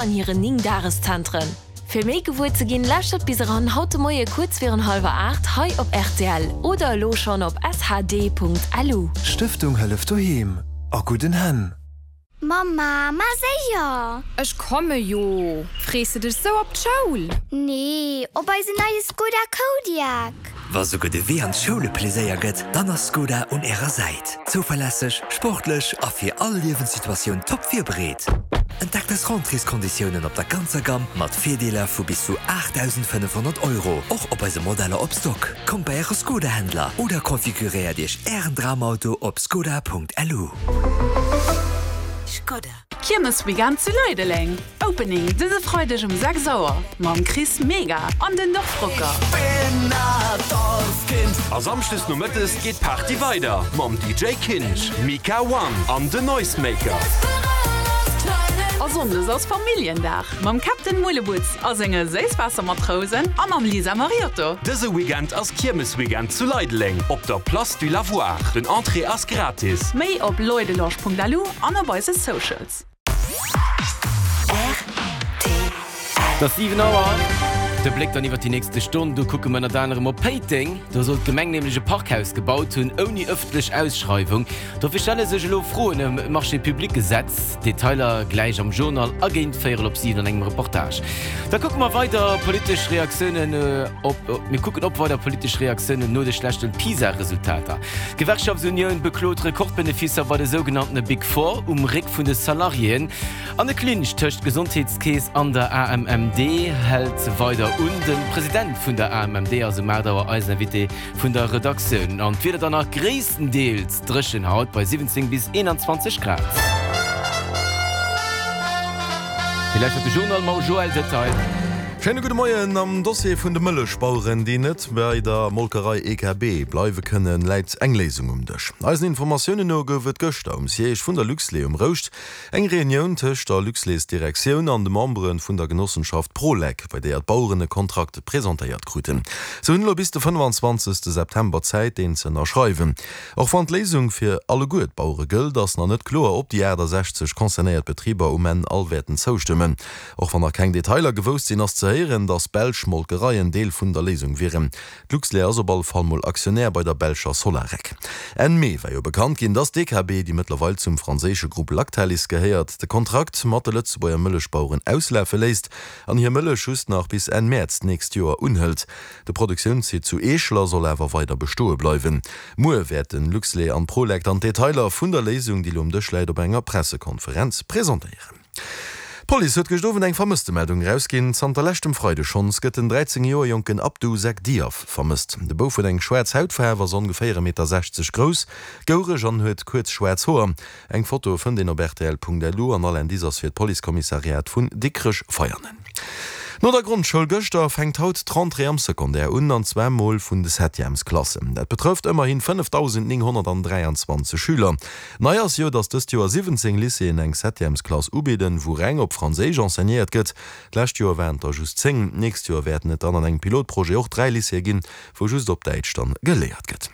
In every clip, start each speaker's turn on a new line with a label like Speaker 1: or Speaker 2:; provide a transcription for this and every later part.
Speaker 1: An hiren 9 Dageszentren. Fir méi gewuer ze ginn, lauschtert bis eran haut de Moie kuerz virun hallwer 8 hei op rtl oder elo schonn op shd.lu.
Speaker 2: Stëftung Hëllef Doheem, a gudden Hänn!
Speaker 3: Mamma, ma séier!
Speaker 4: Ech komme jo! Frees de dech sou op d'Schoul?
Speaker 3: Nee, op eisen neie Skoda Kodiaq!
Speaker 5: Wa souguer de Wee an d'Schoul e Pleséier gëtt, dann ass Skoda un Ärer Säit. Zouverlässeg, sportlech a fir all Liewenssituatioun top virbereet. Entdeckt eis Rentréeskonditiounen op der ganzer Gamm mat Virdeeler vu bis zu 8.500 Euro, och op eise Modeller op Stock. Kommt bei Äre Skoda-Händler oder konfiguréiert Iech Ären Dramauto op skoda.lu.
Speaker 4: Skoda. Kiermesweekend zu Leideleng, Opening dëse Freideg um 6 Auer mam Chris Mega an den Dorfrocker.
Speaker 6: A Samschdes nomëttes geet d'Party weider mam DJ Kinsch, Mika One an den Noisemaker.
Speaker 4: A Sonndes ass Familljendag mam Captain Mullebutz a senge Séisswaassermatrousen a mam Lisa Mariotto.
Speaker 6: Dëse Weekend ass Kiermesweekend zu Leideleng op der Place du Lavoir. Den Entrée ass gratis.
Speaker 4: Méi op leudelange.lu an op eise Socials.
Speaker 7: Et ass 7 Auer. De Bléck dann iwwer déi nächste Stonn. Do kucke mer ënnert anerem op Péiteng. Do soll d'Gemeng nämlech e Parkhaus gebaut hunn, ouni ëffentlech Ausschreiwung. Dofir stelle sech elo Froen ëm d'Marché-public-Gesetz. Detailer gläich am Journal a géint véierel op 7 an engem Reportage. Da kucke mer weider politesch Reaktiounen op, mir kucken op weider politesch Reaktiounen no de schlechte PISA-Resultater. D'Gewerkschaftsunioun beklot Rekordbeneficer bei de sougenanntene Big Four um Réck vun de Salariéen. An de Clinch tëscht Gesondheetskeess an der AMMD hält weider un. De President vun der AMMD ass um 8 Auer eisen Invité vun der Redaktioun. An d'Wieder dann nach gréisstendeels dréchen haut bei 17 bis 21 Grad. Dir lauschtert de Journal mam Joël Detail.
Speaker 8: Schéine gudde Moien. Am Dossier vun de Mëllechbaueren, déi net bei der Molkerei EKB bleiwe kënnen, läit eng Léisung um Dësch. Eisen Informatiounen no gouf et gëschter um Siège vun der Luxlait um Rouscht eng Reunioun tëscht der Luxlait-Direktioun an de Membere vun der Genossenschaft Prolec, bei deeër d'Baueren e Kontrakt presentéiert kruten. Se hunn elo bis de 25 September Zäit, deen ze ënnerschreiwen. Och wann d'Léisung fir alleguer d'Bauere gëllt, ass nach net kloer, ob déi 68 concernéiert Betriber um Enn all wäerten zoustëmmen. Och wann nach keng Detailer gewousst sinn, ass ze héieren, datt belsch Molkereien Deel vun der Léisung wieren. D'Luxlait ass op alle Fall mol Aktionär bei der belscher Solarec. Enn Mee war jo bekannt ginn, datt d'EKB, déi mëttlerweil zum franséische Grupp Lactalis gehéiert, de Kontrakt mat de Lëtzebuerger Mëllechbaueren auslafe léisst an hir Mëllech just nach bis Enn Mäerz d'nächst Joer unhëlt. De Produktiounssite zu Eeschler soll awer weider bestoe bleiwen. Muer wäerten Luxlait an Prolec dann d'Detailer vun der Léisung, déi lo um Dësch läit, op enger Pressekonferenz presentéieren. D'Police huet gëscht Owend eng Vermësstemeldung erausginn. Zanter leschtem Freide schonns gëtt den 13 Joer jonken Abdou Seck Diaf vermësst. De Bouf huet eng schwaarz Hautfaarf, ass ongeféier e Meter 60 grouss, goureg an huet kuerz schwaarz Hoer. Eng Foto fënnt een op rtl.lu an all Indice ass fir d'Policekommissariat vun Dikrech-Veianen. No der Grondschoul gëschter fänkt haut d'Rentrée am Secondaire un, an zwar mol vun de Septièmesklassen. Dat betrëfft ëmmerhin 5.923 Schüler. Nei ass jo, datt dëst Joer 17 Lycéeën eng Septièmesklass ubidden, wou reng op Franséisch enseignéiert gëtt. D'lescht Joer waren et der just 10. D'nächst Joer wäerten et dann an engem Pilotprojet och 3 Lycéeë ginn, wou just op Däitsch dann geléiert gëtt.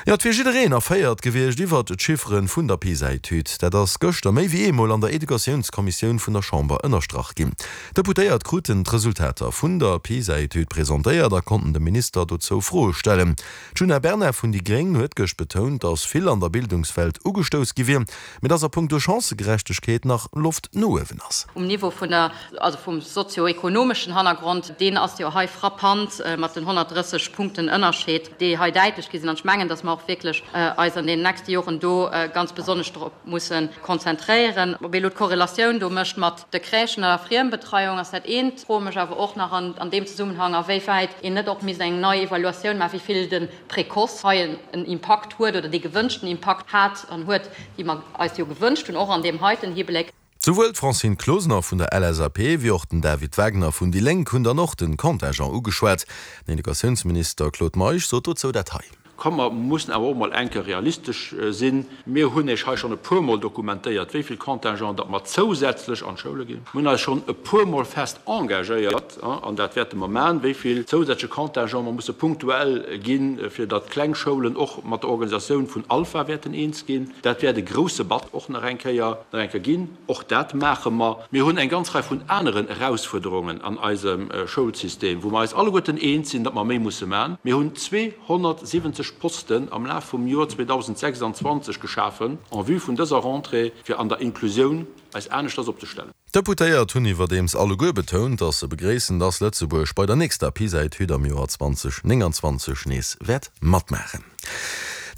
Speaker 8: Jo, et wier jiddereen erféiert gewiescht iwwert d'Chiffere vun der PISA-Etüd. Dat ass gëschter méi wéi eemol an der Educatiounskommissioun vun der Chamber ënnerstrach ginn. D'Deputéiert kruten d'Resultater vun der PISA-Etüd presentéiert a konnten dem Minister dozou Froe stellen. D'Djuna Bernard vun déi gréng huet gëscht betount, datt vill an der Bildungswelt ugestouss gi wier, mee datt a punkto Chancëgerechtegkeet nach Loft no uewen ass.
Speaker 9: Um Niveau vun der, also vum sozio-ekonomeschen Hannergrond, deen ass jo hei frappant mat den 130 Punkten Ënnerscheed, déi hei däitlech gi sinn. An ech mengen, datt mer och wierklech eis an deenen nächste Joren do ganz besonnesch drop musse konzentréieren. Ob ee elo d'Korrelatioun do mécht mat de Crèchen an der Friembetreiung ass dat eent. Froe mech awer och nach an deem Zesummenhang, a wéi wäit een net och misst eng nei Evaluatioun maachen, wéi vill de Précoce hei en Impakt huet oder dee gewënschten Impakt hat an huet, déi mer eis jo gewënscht hunn, och an deem heiten Hibléck.
Speaker 8: Souwuel d'Francine Closener vun der LSAP wéi och den David Wagner vun déi Lénk hunn dann och den Contingent ugeschwat. Den Educatiounsminister Claude Meisch sot dozou dat hei.
Speaker 10: Komm, mer mussen awer och emol eng Kéier realistesch sinn. Mir hunn Iech hei schonn e puermol dokumentéiert, wéi vill Contingent datt mer zousätzlech an d'Schoule ginn. Mir hunn eis schonn e puermol fest engagéiert, an dat wäerte mer maachen, wéi vill zousätzleche Contingent mer musse punktuell ginn, fir datt kleng Schoulen och mat der Organisatioun vun Alpha wäerten eens ginn. Dat wäert e grouse Batz och nach eng Kéier, nach eng Kéier ginn. Och dat maache mer. Mir hunn eng ganz Rei vun aneren Erausfuerderungen an eisem Schoulsystem, wou mer eis alleguerten eens sinn, datt mer méi musse maachen. Mir hunn 270 Posten am Laf vum Joer 2026 geschafen en vue vun dëser Rentrée, fir an der Inklusioun eis aneschters opzestellen.
Speaker 8: D'Deputéiert hunn iwwerdeems alleguer betount, datt se begréissen, datt Lëtzebuerg bei der nächster PISA-Etüd am Joer 2029 nees wäert matmaachen.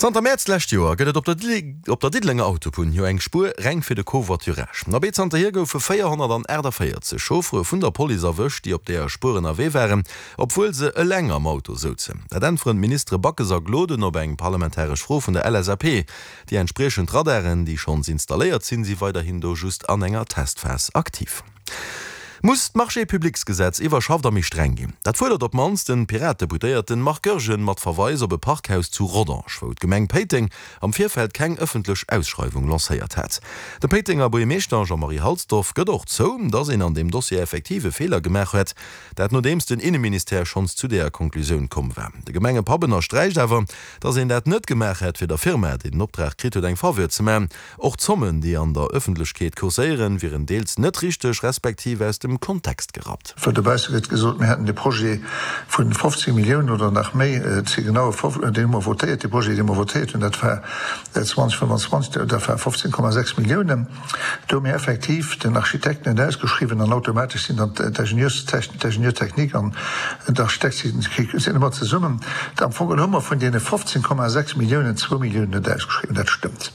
Speaker 8: Zanter Mäerz d'lescht Joer gëtt et op der op der Diddelenger Autobunn jo eng Spuer reng fir de Covoiturage. Abee zanterhier goufe 448 Chauffere vun der Police erwëscht, déi op deeër Spuer ënnerwee waren, obwuel se eleng am Auto souzen. Dat äntweren d'Ministere Backes a Gloden op eng parlamentaresch Fro vun der LSAP. Déi entspriechend Radaren, déi schonns installéiert sinn, si weiderhin do just an enger Testphas aktiv. Muss d'Marchés-publics-Gesetz iwwerschafft a méi streng ginn? Dat fuerdert op d'mannst den Pirat-Deputéierten Marc Goergen mat Verweis op e Parkhaus zu Rodange, wou d'Gemeng Péiteng am Virfeld keng ëffentlech Ausschreiwung lancéiert hat. De Péitenger Buergermeeschter Jean-Marie Halsdorf gëtt och zou, datt een an deem Dossier effektiv e Feeler gemaach huet. Dat nodeems den Inneministère schonns zu deeër Konklusioun komm war. De Gemengepapp ënnersträicht awer, datt een dat net gemaach hätt, fir der Firma, déi den Optrag kritt huet, eng Faveur ze man. Och d'Zommen, déi an der Ëffentlechkeet kurséieren, wieren deels net richteg, respektiv aus dem Kontext gerappt.
Speaker 11: Well dobausse gëtt gesot, mir hätten de Projet vu 15 Milliounen oder nach méi, et si genau, deen hu mer votéiert, dee Projet, dee mer votéiert hunn, dat war 2025, dat war 15,6 Milliounen. Do hu mir effektiv den Architekt net ausgeschriwwen an automatesch sinn dann d'Ingenieurstechnik, d'Ingénieur-technique an d'Architekt sinn ëmmer zesummen. Am Fong geholl hu mer vun deene 15,6 Milliounen zwou Milliounen net ausgeschriwwen, dat stëmmt.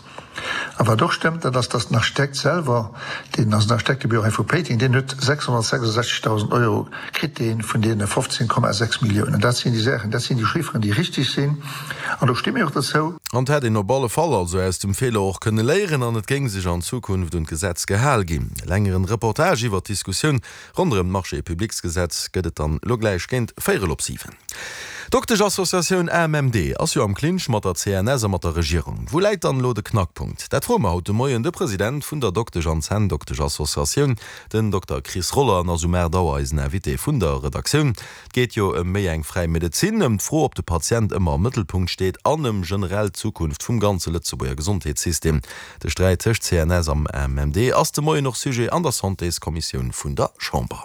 Speaker 11: A wat och stëmmt, dat ass, dass den Architekt selwer, deen ass en Architektebüro hei vu Péiteng, deen huet 666.000 Euro kritt dee vun deene 15,6 Milliounen. Dat sinn déi Saachen, dat sinn déi Chifferen, déi richtig sinn. An do sti mir och dozou.
Speaker 8: An et hätt een op alle Fall also aus dem Feeler och kënne léieren an et géing sech an Zukunft un d'Gesetz gehal ginn. E längeren Reportage iwwert d'Diskussioun ronderëm d'Marchés-publics-Gesetz gëtt et dann elo gläich géint véierel op 7. D'Dokteschassociatioun AMMD ass jo am Clinch mat der CNS a mat der Regierung. Wou läit dann elo de Knackpunkt? Dat froe mer haut de Moien de President vun der Doktesch an Zänndoktesch-Associatioun, den Dokter Chris Roller, an ass um 8 Auer eisen Invité vun der Redaktioun. Et geet jo ëm méi eng fräi Medezin, ëm d'Fro, ob de Patient ëmmer am Mëttelpunkt steet an ëm generell d'Zukunft vum ganze Lëtzebuerger Gesondheetssystem. De Sträit tëscht CNS am AMMD ass de Moien och Sujet an der Santéskommissioun vun der Chamber.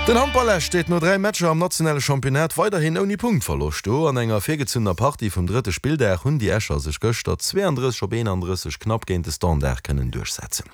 Speaker 8: Den Handball Esch steet no 3 Matcher am nationale Championnat weiderhin ouni Punktverloscht do. An enger virgezunnener Partie vum drëtte Spilldag hunn déi Escher sech gëschter 32 op 31 knapp géint de Standard kënnen duerchsetzen.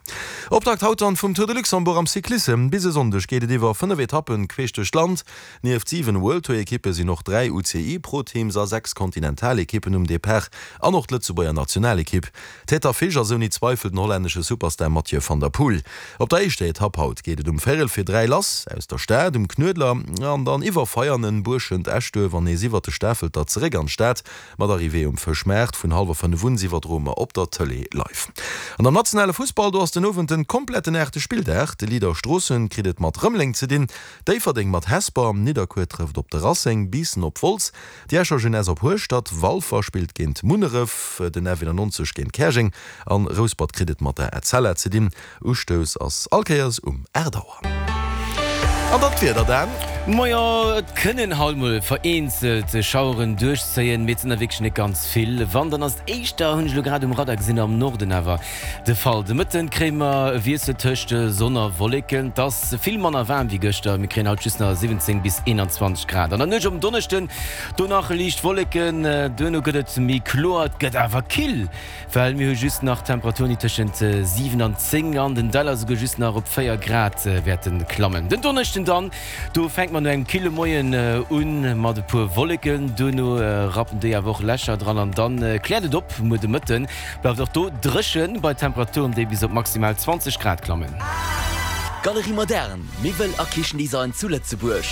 Speaker 8: Optakt haut dann vum Tour de Luxembourg am Cyclissem. Bis e Sonndeg geet et iwwer 5 Etappen queesch duerch d'Land. Nieft 7 World Tour Ekippe sinn och 3 UCI Pro Teams a 6 Kontinentalekippen um Depart an och d'Lëtzebuerger Nationalekipp. Tête d'affiche ass ouni Zweifel den hollännesche Superstar Mathieu van der Poel. Op der éischter Etapp haut geet et um véierel fir 3 lass aus der Stad um Knuedler an dann iwwer Veianen, Buerschent, Eschduerf an nees iwwer de Stafelter zeréck an d'Stad mat Arrivée um Fëschmaart. Vun hallwer 5 un iwwerdroe mer op der Tëlee live. An am nationale Fussball, do ass den Owend den kompletten aachte Spilldag. De Leader Stroossen kritt et mat Rëmeleng ze dinn. Déifferdeng mat Hesper, Nidderkuer trëfft op de Racing, Biissen op Wolz, déi Escher Jeunesse op Hueschtert, Walfer spillt géint Munneref, den F91 géint Käerjeng an Rouspert kritt et mat der Etzella ze dinn. Ustouss ass all Kéiers um 8 Auer. An dann d'Wieder, Dan.
Speaker 7: Majo, et kënnen haut mol vereenzelt Schaueren duerchzéien, mee et sinn der wierklech net ganz vill. Wann, dann ass et éischter, hunn ech elo grad um Radar gesinn, am Norden awer De Fall. De Mëtten kréie mer e Wiessel tëscht Sonn a Wolleken. Et ass vill manner waarm wéi gëschter, mir kréien haut just nach 17 bis 21 Grad. An der Nuecht op en Donneschden do nach liicht Wolleken, duerno gëtt et méi kloer. Et gëtt awer kill, well mir hu just nach Temperaturen, déi tëschent 7 an 10 an den Däller esouguer just nach op 4 Grad wäerte klammen. Den Donneschden dann, do fänke mer no engem kille Moien un mat e puer Wolleken, duerno rappen déi awer och Lächer dran an dann kläert et op muer de Mëtten. Bleift och do dréchen bei Temperaturen, déi bis op maximal 20 Grad klammen.
Speaker 5: Galerie Moderne, Miwwel a Kichendesign zu Lëtzebuerg.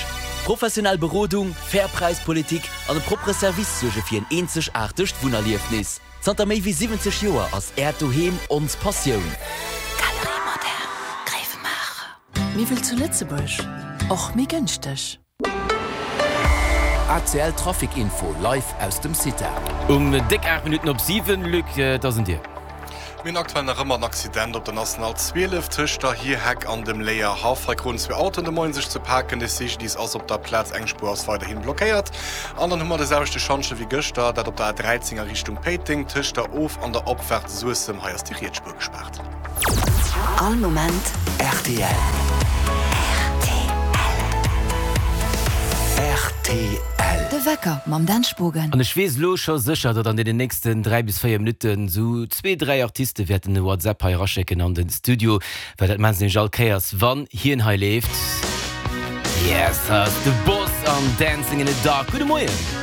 Speaker 5: Professionell Berodung, fair Präispolitik an e proppere Service suerge fir en eenzegaartegt Wunnerliefnis. Zanter méi wéi 70 Joer ass Äert Doheem ons Passioun.
Speaker 1: Galerie Moderne, Gréiwemaacher. Miwwel zu Lëtzebuerg, och méi gënschteg.
Speaker 12: ACL Trafic Info live aus dem CITA.
Speaker 7: Um déck 8 Minutten op 7, Luc, et ass un dir.
Speaker 13: Mir hunn aktuell nach ëmmer en Accident op der National 12 tëscht der Hierheck an dem Léierhaff. Hei kruten zwee Autoen de Moien sech ze paken. De CGDIS ass op der Plaz, eng Spuer ass weiderhin blockéiert. An dann hu mer de selwechte Schantje wéi gëschter, dat op der A13 a Richtung Péiteng, tëscht der Of an der Opfaart Suessem. Hei ass déi riets Spuer gespaart.
Speaker 5: All Moment rtl. Rtl.
Speaker 14: De Wecker mam Dan Spogen.
Speaker 7: An ech weess elo scho sécher, datt an deenen nächsten 3 bis 4 Minutten esou zwee, dräi Artiste wäerten e WhatsApp hei eraschécken an de Studio, well dat maachen se nämlech all Kéiers, wann hien hei leeft. Yes, hei ass de Boss an Dancing in the Dark. Gudde Moien!